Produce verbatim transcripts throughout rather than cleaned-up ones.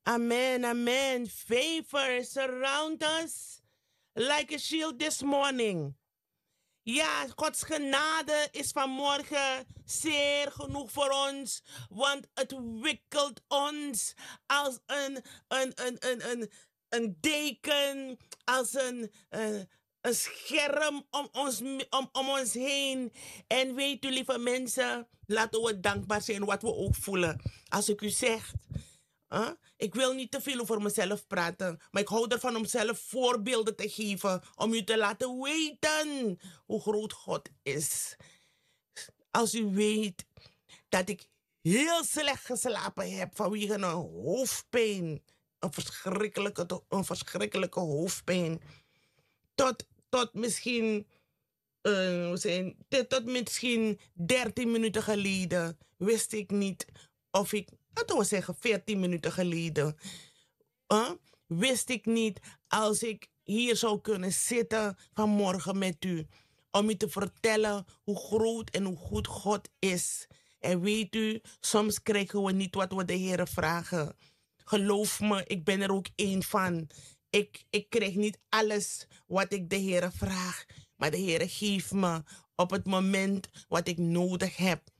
Amen, amen. Favor surround us like a shield this morning. Ja, Gods genade is vanmorgen zeer genoeg voor ons, want het wikkelt ons als een, een, een, een, een, een deken, als een, eh, een scherm om ons, om, om ons heen. En weet u, lieve mensen, laten we dankbaar zijn wat we ook voelen. Als ik u zeg, ik wil niet te veel over mezelf praten, maar ik hou ervan om zelf voorbeelden te geven, om u te laten weten hoe groot God is. Als u weet dat ik heel slecht geslapen heb vanwege een hoofdpijn, een verschrikkelijke, een verschrikkelijke hoofdpijn, tot, tot misschien, eh, hoe zijn, tot, tot misschien dertien minuten geleden wist ik niet of ik, laten we zeggen veertien minuten geleden, eh, wist ik niet als ik hier zou kunnen zitten vanmorgen met u, om u te vertellen hoe groot en hoe goed God is. En weet u, soms krijgen we niet wat we de Heer vragen. Geloof me, ik ben er ook een van. Ik, ik krijg niet alles wat ik de Heer vraag, maar de Heer geeft me op het moment wat ik nodig heb.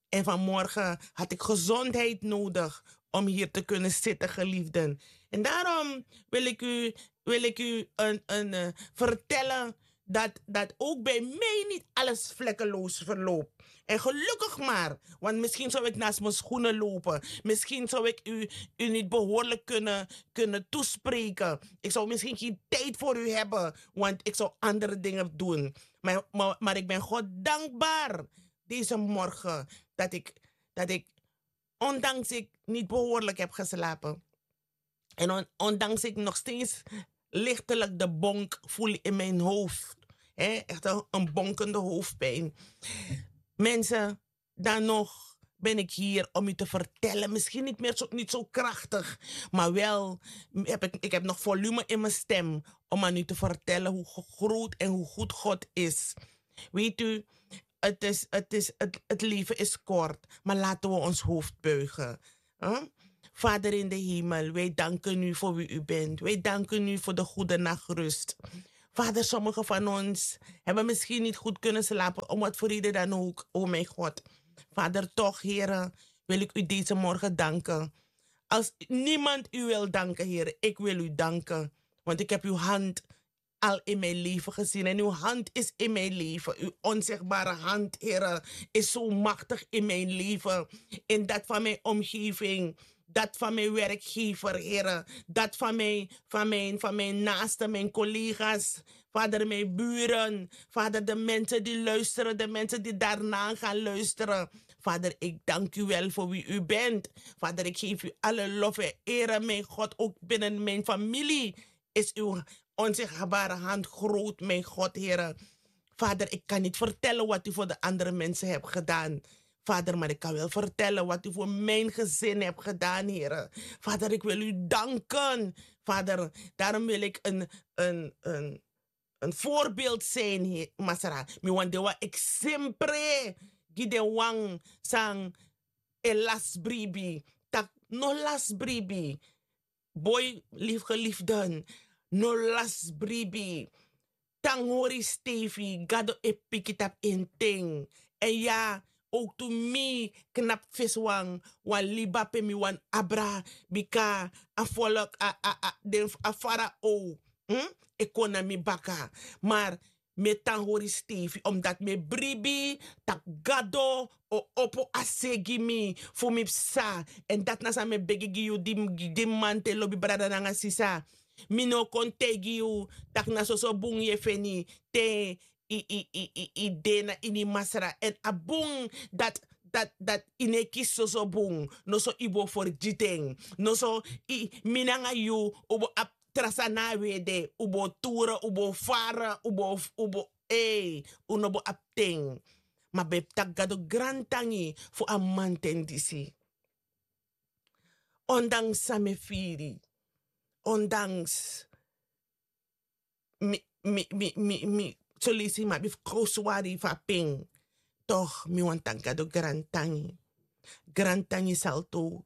En vanmorgen had ik gezondheid nodig om hier te kunnen zitten, geliefden. En daarom wil ik u, wil ik u een, een, eh, vertellen dat, dat ook bij mij niet alles vlekkeloos verloopt. En gelukkig maar, want misschien zou ik naast mijn schoenen lopen. Misschien zou ik u, u niet behoorlijk kunnen, kunnen toespreken. Ik zou misschien geen tijd voor u hebben, want ik zou andere dingen doen. Maar, maar, maar ik ben God dankbaar deze morgen dat ik, dat ik, ondanks ik niet behoorlijk heb geslapen, en on- ondanks ik nog steeds lichtelijk de bonk voel in mijn hoofd. Hè, echt een, een bonkende hoofdpijn. Mensen, dan nog ben ik hier om u te vertellen. Misschien niet meer zo, niet zo krachtig, maar wel heb ik, ik heb nog volume in mijn stem om aan u te vertellen hoe ge- groot en hoe goed God is. Weet u, het, is, het, is, het, het leven is kort, maar laten we ons hoofd buigen. Huh? Vader in de hemel, wij danken u voor wie u bent. Wij danken u voor de goede nachtrust. Vader, sommigen van ons hebben misschien niet goed kunnen slapen, om wat voor reden dan ook, o mijn God. Vader, toch, Here, wil ik u deze morgen danken. Als niemand u wil danken, Here, ik wil u danken. Want ik heb uw hand al in mijn leven gezien. En uw hand is in mijn leven. Uw onzichtbare hand, Here, is zo machtig in mijn leven. In dat van mijn omgeving, dat van mijn werkgever, Here. Dat van mijn, van mijn, van mijn naasten, mijn collega's. Vader, mijn buren. Vader, de mensen die luisteren, de mensen die daarna gaan luisteren. Vader, ik dank u wel voor wie u bent. Vader, ik geef u alle lof en ere, mijn God, ook binnen mijn familie is uw onzichtbare hand groot, mijn God, Here. Vader, ik kan niet vertellen wat u voor de andere mensen hebt gedaan. Vader, maar ik kan wel vertellen wat u voor mijn gezin hebt gedaan, Here. Vader, ik wil u danken. Vader, daarom wil ik een, een, een, een voorbeeld zijn, Masra. Mi wan de wan ik sempre gi de wan sang e las bribi. Tak no las bribi. Boy, lief geliefden, no las bribi. Tan hori stefi, Gado e piki tapu en ten. En ya, ook tu mi knap fesi wan, wan liba pe mi wan abra, bika a volk, a, a, a, den, a farao, hm? E kon na mi baka. Maar mi e tan hori stefi, omdat mi e bribi tak' Gado o opo a se gi mi fu mi psa. Èn dati na san mi e begi gi yu, di, di manten lobi brada nanga sisa. Mi no kon taigi yu tak' na soso bun yu e feni te i, i, i, i, i de na ini Masra. Èn a bun dati, dati, dati i no e kisi soso bun. Noso i bo fergiti en. Noso i, mi nanga yu, u bo abi tra sani na a we de, u bo ture, u bo fara, u bo, u bo, ei, u no bo abi ten. Ma ben taki Gado grantangi fu a manten disi. Ondanks san mi e firi, ondanks mi, mi, mi, mi, mi, son leisi mi abi fu kon swari fu a pen, toch mi wani taki Gado grantangi. Grantangi Salto,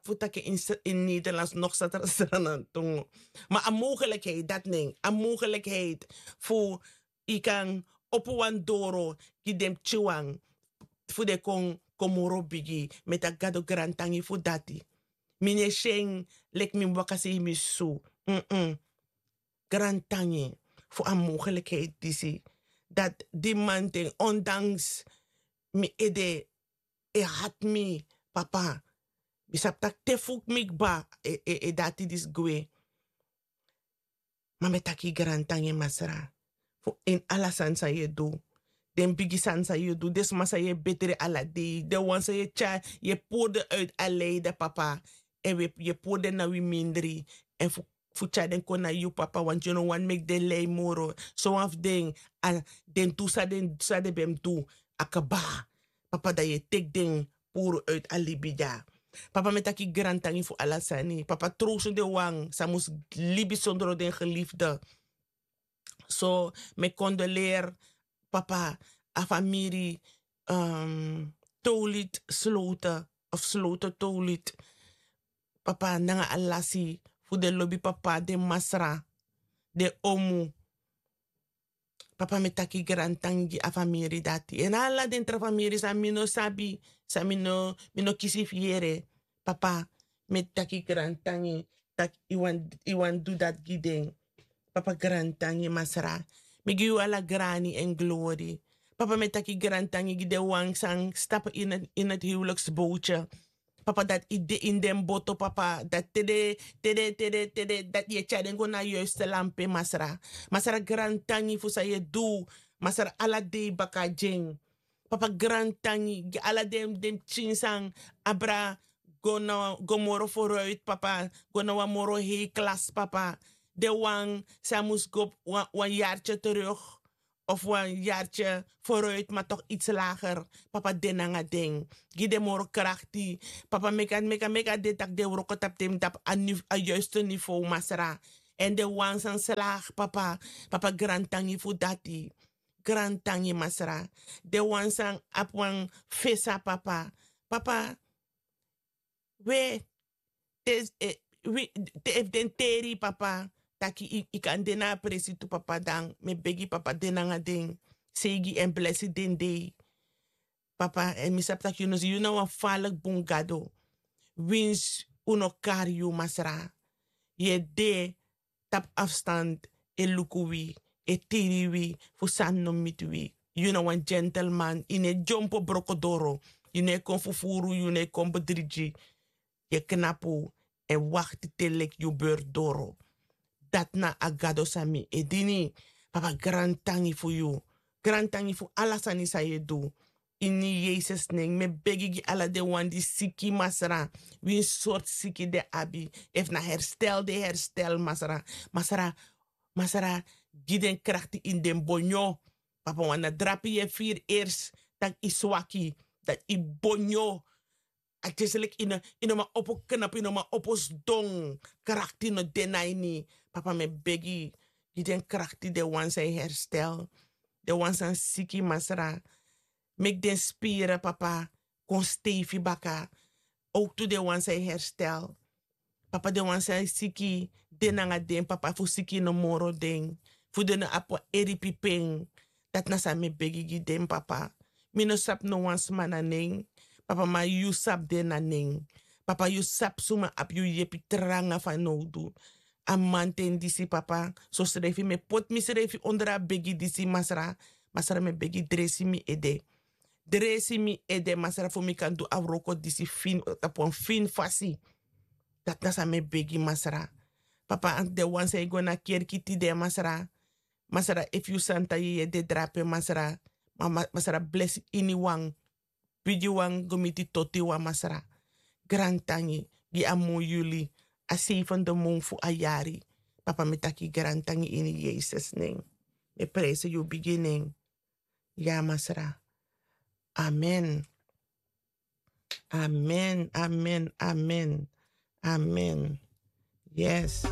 sabi fu taki in nederlands nog satra sranantungu. Ma a mogelikheid dati nen a mogelikheid fu yu kan opo wan doro gi den pikinwan fu den kon kon moro bigi. Mi e taki gado grantangi fu dati. Mi no e si en leki mi mus waka sei mi susu. Grantangi fu a mogelikheid disi dati di manten ondanks mi ede e hati mi papa. Mi sabi taki te fu mi kba e dati disi gwe. Ma mi e taki grantangi masra fu ini ala sani san yu e du. Den bigi sani san yu e du den sma san yu e betri ala dei den wan san yu e tyari yu e puru den uiti a leide papa. Èn wi e puru den na wi mindri èn fu tyari den kon na yu papa wantu yu no wani meki den lei moro. Sowan fu den a den du san den ben mus du a kba. Papa dan yu e teki den puru uiti a libi dya. Papa mi e taki grantangi fu ala sani papa trowsu den wan san mus libi sondro den gelifde. So mi e kondoleri papa a famiri towlit slote of slote towlit. Papa nanga a lasi fu den lobi papa den masra den omu. Papa mi e taki grantangi gi a famiri dati èn ala den tra famiri san mi no sabi san mi no kisi fu yere. Papa mi e taki grantangi tak' yu wani du dati gi den. Papa grantangi masra. Mi gi yu ala grani èn glori. Papa mi e taki grantangi gi den wan san stapu ini a hiwliksbowtye. Papa dati yu de ini den boto papa dati te den te den te den te den dati yu e tyari den go na a yuiste lampe masra. Masra grantangi fu san yu e du masra ala dei baka gi en. Papa grantangi gi ala den pikin san abra go moro foruiti papa go na wan moro hei klasi papa. Den wan san mus go wan yartye teruk of wan yartye foruiti ma tok itsi lager. Papa de nanga den gi den moro krakti. Papa meki a meki a meki a de tak' den wroko tapu den mus tapu a yuiste nivow masra. Èn den wan san slagi papa. Papa grantangi fu dati. Grantangi masra. Den wan san abi wan fesa papa. Papa we te efu den teri yu papa taki yu kan de na a presi tu papa dan mi e begi papa de nanga den. Seigi èn blesi den dei. Papa èn mi sabi tak' yu no si yu na wan faliki bun gado. Winsi un no kari yu masra. Yu e de tapu afstand e luku wi e tiri wi fu sani no miti wi. Yu na wan gentleman yu no e dyompo broko doro. Yu no e kon fufuru yu no e kon bedrigi. Yu e knapu èn wakti te leki yu beri doro. Dati na a gado san mi e dini. Papa grantangi fu yu. Grantangi fu ala sani san yu e du. Ini yesus nen mi e begi gi ala den wan di siki masra. Winsi sortu siki den abi efu na herstel den herstel masra. Masra masra gi den krakti ini den bonyo. Papa wan na drape yu e firi ersi tak' yu swaki. Dati yu bonyo. A tyesi leki yu no man opo knapu yu no man opo sidon. Krakti no de na ini. Papa mi e begi gi den krakti den wan san e herstel. Den wan san siki masra. Meki den spiri papa kon steifi baka. Owktu den wan san e herstel. Papa den wan san e siki de nanga den papa fu siki no moro den. Fu den no abi wan eripi pen. Dati na san mi e begi gi den papa. Mi no sabi no wan sma na nen. Papa ma yu sabi den na nen. Papa yu sabi suma abi yu yepi tranga fanowdu. A manten disi papa sosrefi mi e poti misrefi ondro a begi disi masra. Masra mi e begi dresi mi ede. Dresi mi ede masra fu mi kan du a wroko disi fini tapu wan fini fasi. Dati na san mi e begi masra. Papa anti den wan san e go na kerki tide masra. Masra efu yu santa yeye de drape masra. Masra blesi iniwan. Bidiwan go miti totiwan masra. Grantangi gi a mun yuli a seifende mun fu a yari. Papa mi taki grantangi ini yesus nen. Mi e presi yu bigi nen. Ya masra. Amen. Amen, amen, amen. Amen. Yes.